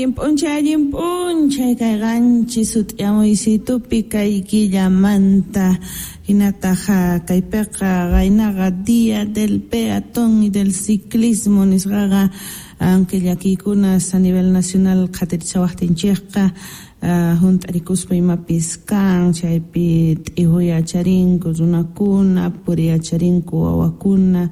Allin p'unchay, allin p'unchay kay qanchis sut'iyamuysitupi kay killamanta hinataq kaypiqa qaynaqa Día del Peatón y del Ciclismo nisqaqa, aunque llakiykunas a nivel nacional qhatirichawaqtinchikqa hunt'arikuspa imapis kan, chaypi t'ihuyacharinku runakuna, puriyacharinku wawakuna,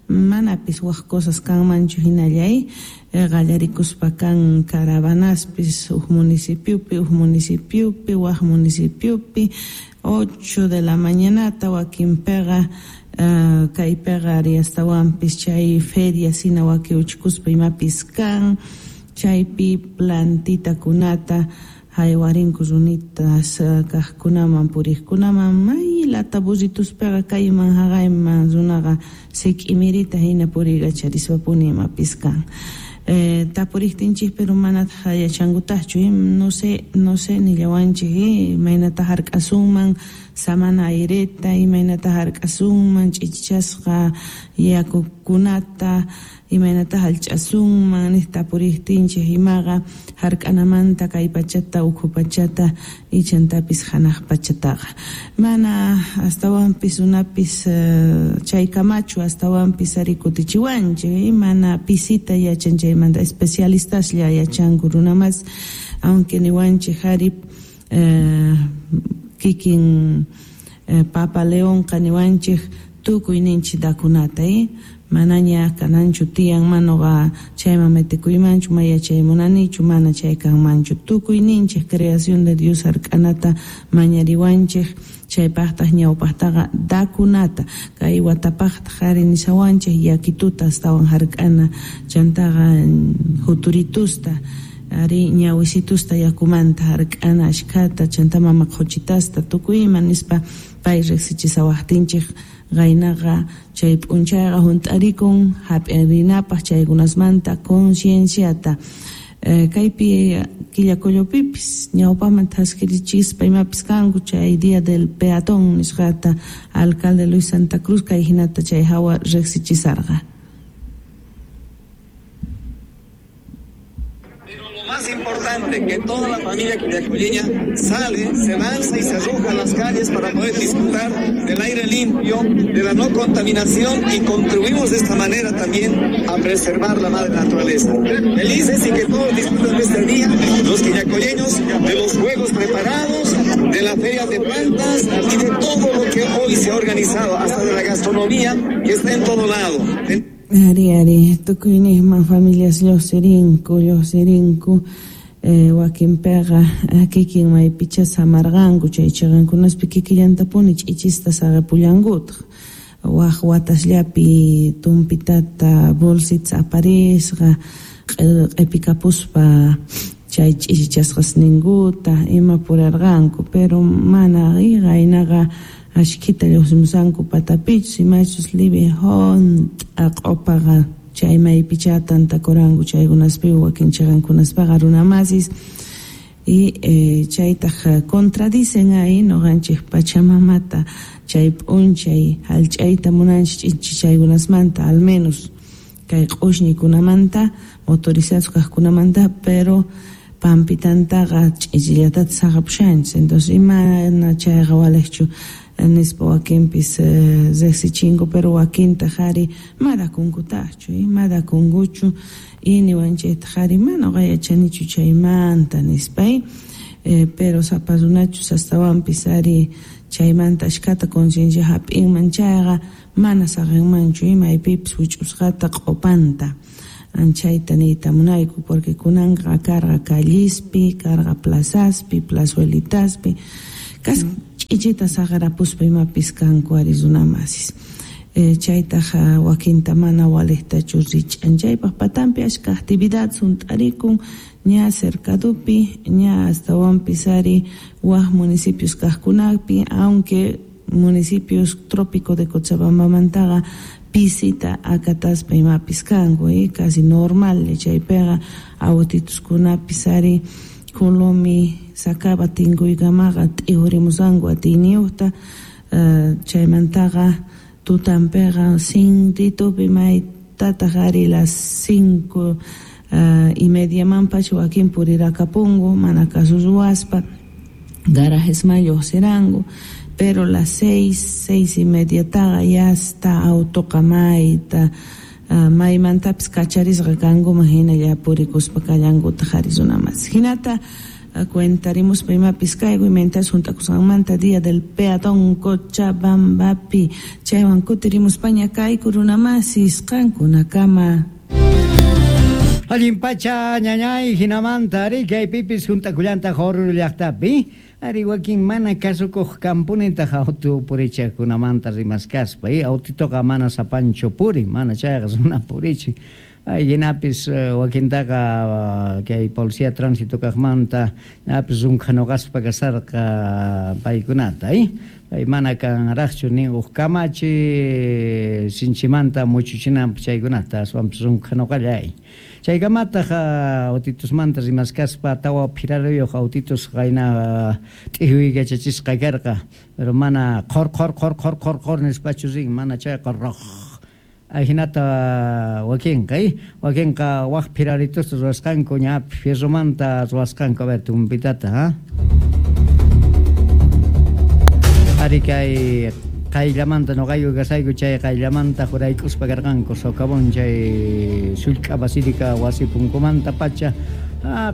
manapis waj cosas kanmanchu hinallay qallarikuspa kan caravanaspis huk municipiopi, huk municipiopi, waj municipiopi, 8 de la mañanata wakinpiqa kaypiqa ari astawanpis chay feria sina wakiuchkuspa imapis kan, chaypi plantitakunata haywarinku runitas kaqkunaman puriqkunaman may lata burrituspiqa kayman haqayman runaqa sik'imirita hina puriykacharispa imapis kan. Tapuriqtinchik pero manataq yachankutaqchu, no sé, no sé nillawanchik, imaynata hark'asunman samana aireta, imaynata hark'asunman ch'ichichasqa yakukunata, imaynata hallch'asunman niq tapuriqtinchik imaqa hark'anamanta kay pachata, ukhu pachata, ichantapis hanaq pachataqa. Mana astawanpis runapis chaykamachu astawanpis ari kutichiwanchik, mana pisita yachan chaymanta especialistaslla yachanku runamas, aunque niwanchik ari kikin Papa Leonqa niwanchik tukuyninchik dakunata, manaña kananchu tiyan manuqa chayman metikuymanchu ma yachay munanichu mana chay kanmanchu tukuyninchik creación de Dios hark'anata mañariwanchik chaypaqtaq ñawpaqtaqa dakunata kay watapaqtaq ari nishawanchik yakituta astawan hark'ana chantaqa juturitusta ari ñawisitusta yakumanta hark'ana ashkhata chanta mama qhuchitasta tukuy ima nispa pay riqsichisawaqtinchik qaynaqa chay p'unchayqa hunt'arikun hap'irinapaq chaykunasmanta concienciata. Kaypi Quillacollopipis ñawpaman thaskirichispa imapis kanku chay Día del Peatón nisqata alcalde Luis Santa Cruz kay hinata chay hawa riqsichisarqa. Más importante, que toda la familia quillacolleña sale, se lanza y se arroja a las calles para poder disfrutar del aire limpio, de la no contaminación y contribuimos de esta manera también a preservar la madre naturaleza. Felices y que todos disfruten de este día, los quillacolleños, de los juegos preparados, de la feria de plantas y de todo lo que hoy se ha organizado, hasta de la gastronomía que está en todo lado. Ari, ari, tukuyniyman familias lluqsirinku, lluqsirinku, wakinpiqa kikin maypicha samarqanku chay chiqankunaspi kikillantapuni ch'ichista saqapullankutaq waj watasllapi tumpitata bolsita aparisqa q'ipikapuspa chay ch'ichichasqasninkuta ima purarqanku pero mana qaynaqa ashkhita lluqsimusanku patapichus imachus libi hunt'a q'upaqa chay maypicha tantakuranku chaykunaspi wakin chiqankunaspaqa runamasis y chaytaq contradicen ahí nuqanchik Pachamamata chay p'unchay hallch'ayta munanchik ch'ichichaykunasmanta al menos kay q'ushñikunamanta motorizados kaqkunamanta pero pampitantaqa ch'ichillatata saqapushanchik entonces imana chayqa waliqchu nispa wakinpis riqsichinku pero wakintaq ari madakunkutaqchu, madakunkuchu y niwanchiktaq ari mana uqa yachanichu chaymanta nispay, pero sapa runachus astawanpis ari chaymanta ashkhata conciencia hap'inman chayqa mana saqinmanchu maypipis wich'usqata q'upanta. Anchayta niyta munayku porque kunanqa karqa callispi, karqa plazaspi, plazuelitaspi, kas ch'ichita saqarapuspa imapis kanku ari runamasis. Chaytaq wakinta mana waliqtachu rich'an chaypaq patanpi ashka actividad hunt'arikun ña cercadupi, ña astawanpis ari waj municipios kaqkunapi, aunque municipios trópico de Cochabambamantaqa pisita akataspa imapis kanku, casi normal chaypiqa autituskunapis ari Colomi sacaba tinkuykamaqa t'ihurimusanku atiyniyuqta, chaymantaqa tutanpiqa sintitupi maytataq ari las 5 y mediamanpacha wakin purirakapunku mana caso ruwaspa garajesman lluqsiranku, pero las 6, 6:30taqa ya está autoqa mayta maymantapis kacharisqa kankuman hinalla purikuspa kallankutaq qhari runamas. Hinata cuentarimuspa imapis kayku imaynatas hunt'akusqanmanta Día del Peatón Cochabambapi chaywan kutirimuspaña kayku runamasis qankunakama. Allin pacha ñañay hinamanta ari kaypipis hunt'akullantaq Oruro llaqtapi ari wakin mana kasukuq kampunitaq auto purichaqkunamanta rimaskaspa autitoqa mana sapanchu purin mana chayqa runa purichin ay hinapis wakintaqa kay policía tránsito kaqmanta ñapis runkhanuqaspa kasarqa paykunata pay mana kanraqchu nin huk kamachi sinchimanta muchuchinanpaq chaykunata aswanpis runkhanuqalla chaykamataq autitusmanta rimaskaspa tawa phiraruyuq autitus qayna t'ihuykachachisqa karqa pero mana qhor qhor qhor qhor qhor qhor nispachu rin mana chayqa roq ajinata wakinqa wakinqa waq phiraritusta ruwasqanku ña fierromanta ruwasqanku a ver tumpitata ari kay qayllamanta noqayku kasayku chay qayllamanta jurayk'uspa karqanku socavón chay sullk'a basílica wasi punkumanta pacha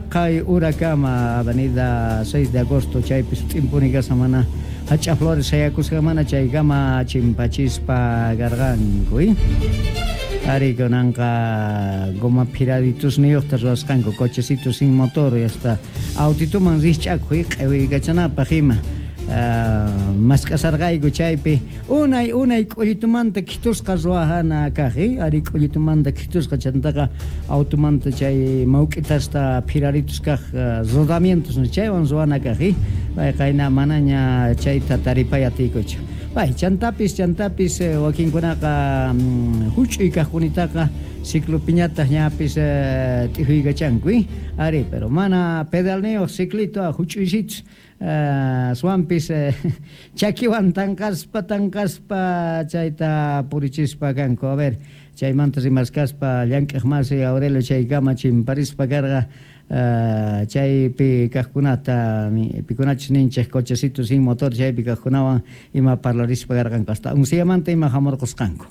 qay urakama avenida 6 de agosto chaypis sut'impuni kashan mana hach'a flores sayakusqa mana chaykama chimpachispa karqanku ari kunanqa goma phiraritusniyuqta ruwasqanku cochecito sin motor hasta autituman rikch'akuq q'iwiykachanapaq ima mask'asarqayku chaypi unay unay k'ullitumanta khitusqa ruwajana kaq ari k'ullitumanta khitusqa chantaqa automanta chay mawk'itasta phiraritus kaq rodamientos chaywan ruwana kaq pay qayna manaña chayta taripay atiykuchu pay chantapis chantapis wakinkunaqa huch'uy kaqkunitaqa ciclopiñataq ñapis t'ijuykachanku ari pero mana pedalniyuq ciclito huch'uysitus aswanpis chakiwan tanqaspa tanqaspa chayta purichispa kanku a ver chaymanta rimaskaspa llank'aq masi Aurelio chaykama chimparispa karqa chaypi kaqkunata pikunachus ninchik cochecito sin motor chaypi kaqkunawan ima parlarispa karqanku hasta unsiyamanta ima hamurqusqanku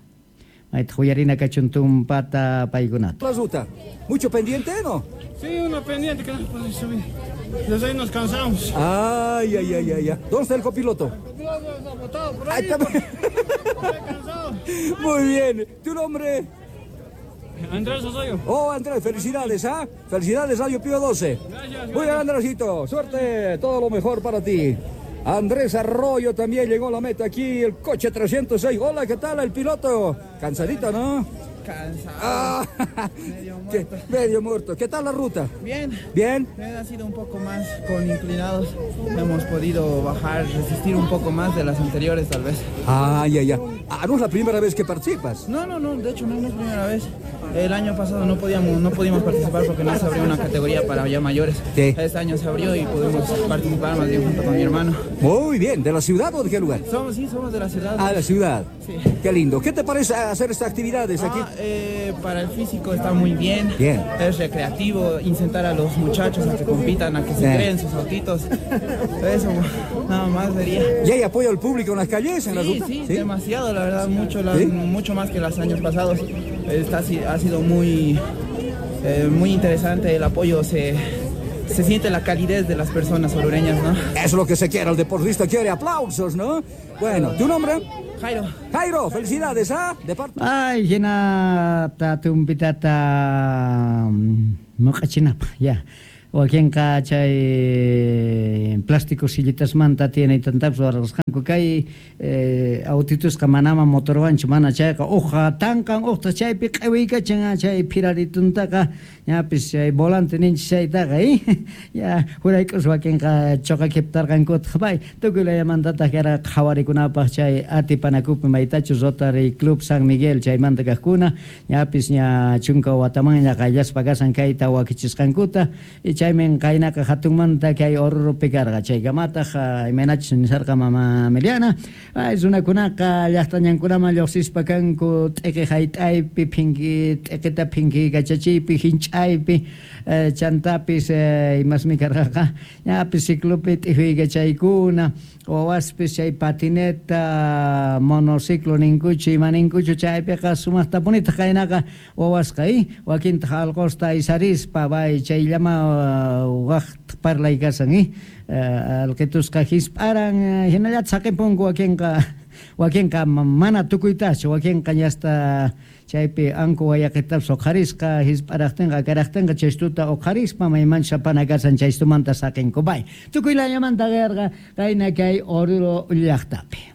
mayta uyarina kachun tumpata paykunata. La ruta, ¿mucho pendiente, no? Sí, una pendiente que no podemos subir. Desde ahí nos cansamos. Ay, ay, ay, ay, ay. ¿Dónde está el copiloto? El copiloto está botado por ahí. Ahí está. Está cansado. Muy bien. ¿Tu nombre? Andrés Osorio. Oh, Andrés, felicidades, ¿ah? Felicidades, Radio Pío 12. Gracias. Muy bien, Andresito. Suerte, todo lo mejor para ti. Andrés Arroyo también llegó a la meta aquí, el coche 306. Hola, ¿qué tal el piloto? Cansadito, ¿no? Cansado. Ah, Medio muerto. Medio muerto. ¿Qué tal la ruta? Bien. ¿Bien? Bien, ha sido un poco más con inclinados. Hemos podido bajar, resistir un poco más de las anteriores, tal vez. Ah, ya, ya. Ah, ¿no es la primera vez que participas? No, no, no. De hecho, no, no es primera vez. El año pasado no pudimos participar porque no se abrió una categoría para ya mayores. Sí. Este año se abrió y pudimos participar más bien junto con mi hermano. Muy bien. ¿De la ciudad o de qué lugar? Somos, sí, somos de la ciudad. Ah, de la ciudad. Sí. Qué lindo. ¿Qué te parece hacer estas actividades aquí? Para el físico está muy bien. Bien. Es recreativo, incentar a los muchachos a que compitan, a que se Sí. creen sus autitos. Eso, nada más sería. ¿Y hay apoyo al público en las calles, en la Sí, ruta? sí, demasiado, la verdad, ¿Sí? mucho más que los años pasados. Ha sido muy interesante el apoyo, se siente la calidez de las personas orureñas, ¿no? Eso es lo que se quiere, el deportista quiere aplausos, ¿no? Bueno, ¿tu nombre? Jairo. Jairo, felicidades, ¿ah? De parte... Ay, hinata tumpitata muq'achinapaq, ya. Wakinqa chay plástico sillitasmanta tiene tantapis ruwarqasqanku kay autitusqa manama motorwanchu mana chayqa uqa tanqan uqta chaypi q'iwiykachan chay phirarituntaqa ñapis chay volante ninchik chaytaqa ya jurayk'us wakinqa choqakiptarqankutaq pay tukuy layamantataq kara qhawarikunapaq chay atipanakupi maytachus Rotary Club San Miguel chaymanta kaqkuna ñapis ña chunka watamanña qayllaspa kasan kayta wakichisqankuta y Chaymin qaynaqa hatunmanta kay Oruropi karqa. Chaykamataj imaynachus nisarqa mama Emiliana, ay runakunaqa llaqtañankunaman lluqsispa kanku t'iqi hayt'aypi, phinki t'iqita phinkiykachachiypi, hinch'aypi, chantapis imasmi karqaqa ñapis ciclopi t'ijuykachaykuna, wawaspis chay patineta, monociclo ninkuchu, ima ninkuchu chaypiqa sumaqtapunitaq qaynaqa wawasqa, wakintaq alqosta aysarispa, bay chayllama waq parlay kasan, alqitusqa hisp'aran, hinallataq saqinpunku wakinqa mana tukuytachu, wakinqa ñasta chaypi anku wayaqitapas uqharisqa, hisp'araqtinqa, akaraqtinqa chaystuta uqharispa maymanchus apana kasan chaystumanta saqinku, bay tukuy layamanta qarqa qayna kay Oruro llaqtapi.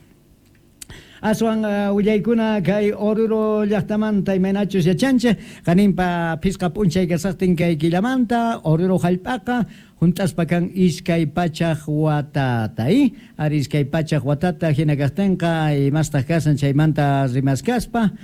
Aswan willaykuna kay Oruro llaqtamanta imaynachus yachanchej, qaninpa phisqa p'unchay kasaqtin kay killamanta Oruro hallp'aqa hunt'aspa kan 200 watata, ari 200 watata hina kaqtinqa imastaq kasan chaymanta rimaskaspa,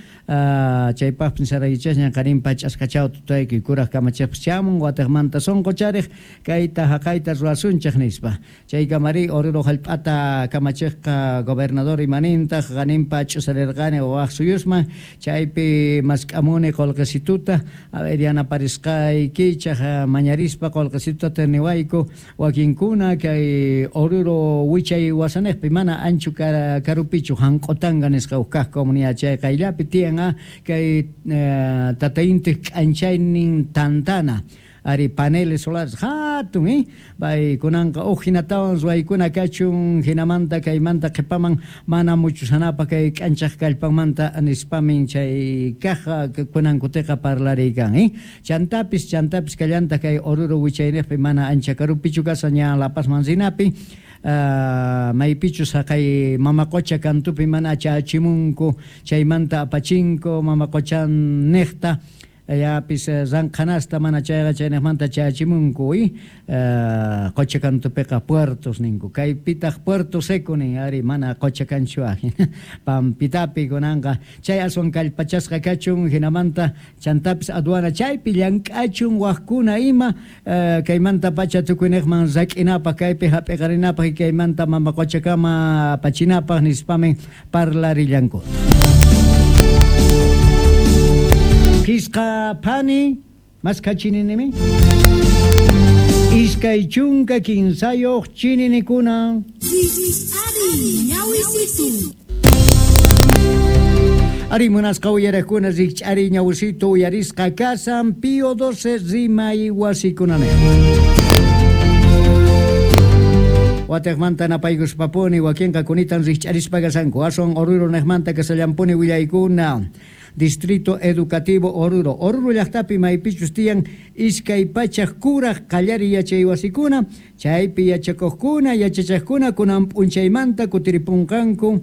chaypaqpis nisaraykichasñan qaninpa ch'askachaw tutaykuy kuraq kamachiqpas chamun wataqmanta sunquchariq kayta haqayta ruwasunchik nispa. Chaykamari Oruro hallp'ata kamachiqqa gobernador imanintaq qaninpa ch'usarirqani waq suyusman chaypi mask'amuni qullqisituta, a ver yanaparisqaykichaq mañarispa qullqisituta niwayku wakinkuna kay Oruro wichay wasaniqpi mana ancho karupichu hanq'utanga nisqa huk kaq comunidad chay qayllapi tiyan kay tatayintiq k'anchaynin tantana ari paneles solares hatun, bay kunanqa uj hinatawan ruwaykuna kachun hinamanta kaymanta qhipaman mana muchusanapaq kay k'anchaq kallpanmanta nispamin chay kaq kunankutiqa parlariykan, chantapis kallantaq kay Oruro wichayniqpi mana ancha karupichu kasan ña La Pazman rinapi, maypichus haqay mama qocha kantupi mana chachimunku chaymanta apachinku mama qochan niqta yapis ranqhanasta mana chayqa chayniqmanta chachimunku, qocha kantupiqa puertos ninku kaypitaq puerto seco nin ari mana qocha kanchu pampitapi kunanqa chay aswan kallpachasqa kachun hinamanta chantapis aduana chaypi llank'achun waqkuna ima kaymanta pacha tukuyniqman rak'inapaq kaypi hap'iqarinapaq kaymanta mama qochakama apachinapaq nispamin parlarillanku. Phisqa phani maskha chininimi 23 chininikuna. Ari munasqa uyariqkuna rikch'ari ñawisitu uyarisqa kasan Pío XII rimay wasikunaniq. Wataqmanta napaykuspapuni wakinqa kunitan rikch'arispa kasanku aswan Oruro niqmanta kasallampuni willaykuna. Distrito Educativo Oruro. Oruro llaqtapi maypichus tiyan 200 kuraq qallari yachay wasikuna, chaypi yachakuqkuna, yachachaqkuna kunan p'unchaymanta kutiripunqanku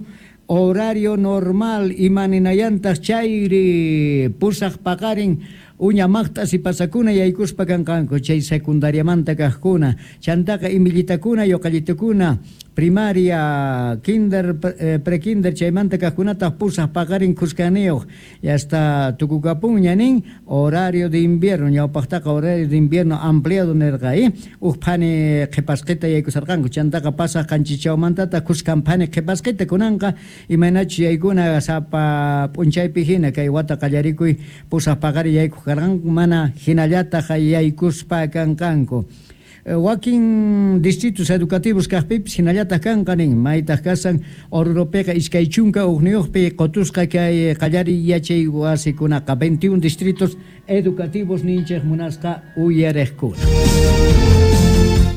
horario normal imaninayantaq chayri pusaq paqarin uña maqt'as pasakuna yaykuspa kanqanku chay secundariamanta kaqkuna chantaqa imillitakuna yuqallitukuna primaria, kinder, prekinder chaymanta kaqkunataq pusaq paqarin khuskaniyuq hasta tukukapunña nin horario de invierno ñawpaqtaqa horario de invierno ampliado nirqa uj phani qhipasqita yaykusarqanku chantaqa pasaq qanchichawmantataq khuskan phani qhipasqita kunanqa imaynachus yaykuna sapa p'unchaypi hina kay wata qallarikuy pusaq paqari yaykuq karqanku mana hinallataq yaykuspa kanqanku. Wakin distritos educativos kaqpipis hinallataq kanqa nin maytaq kasan Oruropiqa 21 qotusqa kay qallari yachay wasikunaqa 21 distritos educativos ninchik munasqa uyariqkuna.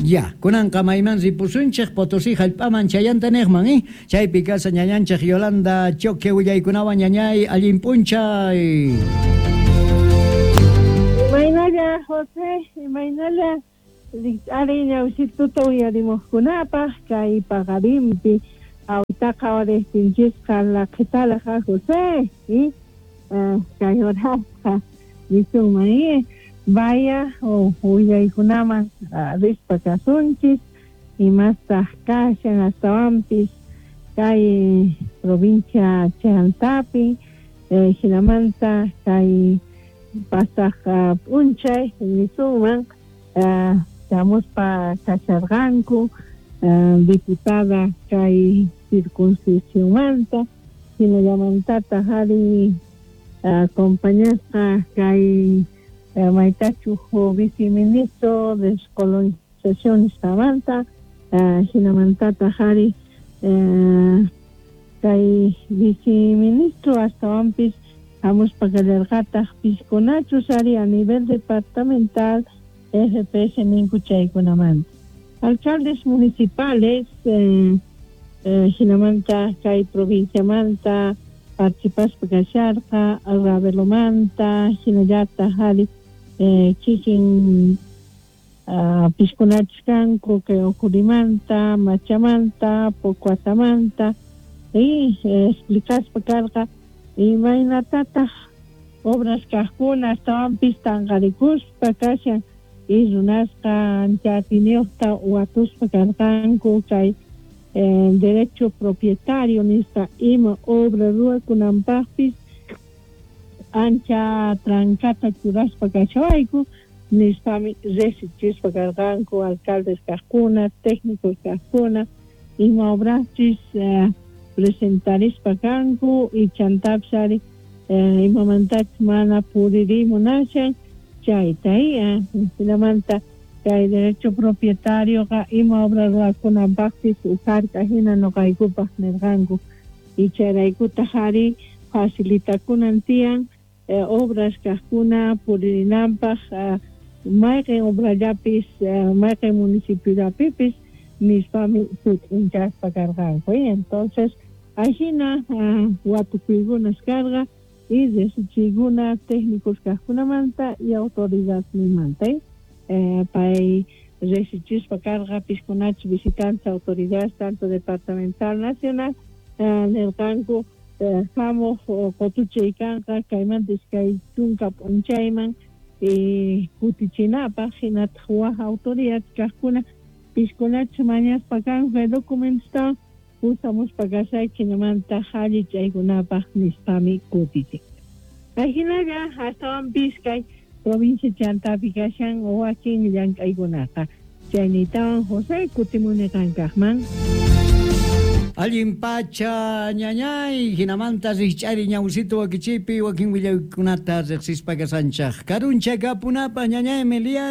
Ya, kunanqa mayman ripusunchik Potosí hallp'aman chayanta niqman, chaypi kasa ñañanchik Yolanda Choque willaykunawan ñañay allin p'unchay. Imaynalla José, imaynalla rikch'ari ñawsituta uyarimuqkunapaq kay paqarinpi awitaqa wariqtinchisqa laqhitalaqa José, kay horasqa nisunman, vaya willaykunaman rispa kasunchis imastaq kashan astawanpis kay provincia Chantapi, hinamanta kay pasaq p'unchay nisunman Chamuspa kasharqanku diputada kay circunscripcionmanta jinallamantataq ari acompañasqa kay maytachu viceministro de descolonización nisqamanta jinamantataq ari kay viceministro astawanpis hamuspa kallarqataq piskunachus ari a nivel departamental FPS ninku chaykunamanta. Alcaldes municipales jinamanta kay provinciamanta participaspa kasharqa Ravelomanta hinallataq ari kikin piskunachus kanku kay Ocurimanta, Machamanta, Pocuatamanta y explicaspa karqa imaynatataq obras kaqkuna astawanpis tanqarikuspa kashan y runasqa ancha atiyniyuqta watuspa karqanku kay derecho propietario nisqa ima obra ruwakunanpaqpis ancha trancata churaspa kashawayku nispami riqsichispa karqanku alcaldes kaqkuna técnicos kaqkuna ima obraschis presentarispa kanku y chantapis ari imamantachus mana puririmunashan chayta jinamanta kay derecho propietarioqa ima obra ruwakunanpaqpis ujarka hina noqaykupaq nirqanku y chayraykutaq ari facilitakunan tiyan obras kaqkuna puririnanpaq mayqin obrallapis mayqin municipiollapipis nispami sut'inchaspa karqanku. Entonces ajina watukuykunas karqa y riqsichiykuna técnicos kaqkunamanta y autoridadninmanta pay riqsichispa karqa piskunachus visitantes autoridades tanto departamental nacional nirqanku hamuq qutuchay kanqa kaymanta iskay chunka p'unchayman kutichinapaq hinataq waj autoridad kaqkuna piskunachus mañaspa kanku kay documentosta pusamuspa kasayki hinamanta allichaykunapaq nispami kutichin. Ajinalla astawanpis kay provincia chantapi kashan wakin llank'aykunaqa. Chaynitawan José kutimuni qankaqman. Allin pacha ñañay hinamanta rikch'ari ñawsito wakichipi wakin willaykunata riqsispa kasanchaq karuncha kapunapaq ñañay Meliana.